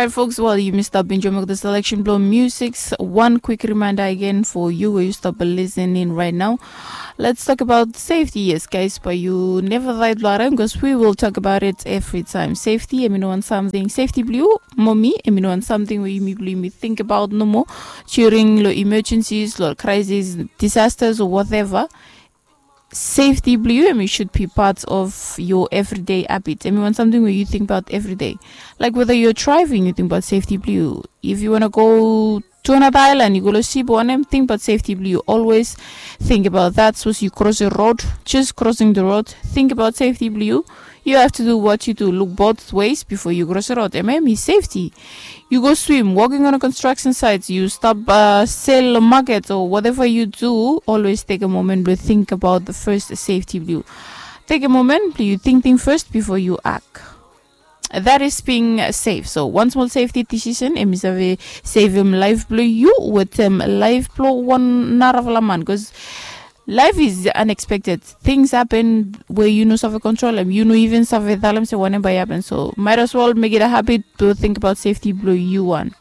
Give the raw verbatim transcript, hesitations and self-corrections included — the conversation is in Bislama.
Right, folks, well, you missed out binjo mok the selection blow musics. One quick reminder again for you where you stop listening right now. Let's talk about safety. Yes, guys, but you never right, Lauren, because we will talk about it every time. Safety, I mean, on something. Safety blue, mommy, I mean, on something where you me think about no more during lo emergencies, lo crisis, disasters, or whatever. Safety blue, I mean, should be part of your everyday habit. I mean, on something where you think about every day. Like whether you're driving, you think about safety blue. If you want to go to another island, you go to Sibo and think about safety blue. You always think about that. Suppose you cross a road, just crossing the road, think about safety blue. You have to do what you do. Look both ways before you cross the road. M M is safety. You go swim, walking on a construction site, you stop uh, sell market or whatever you do, always take a moment to think about the first safety blue. Take a moment, you think thing first before you act. That is being safe. So one small safety decision em is a save em life blue you with em life blue one narafala man because life is unexpected. Things happen where you no suffer control them. You no even suffer tell them say whatever happen. So might as well make it a habit to think about safety blue you one.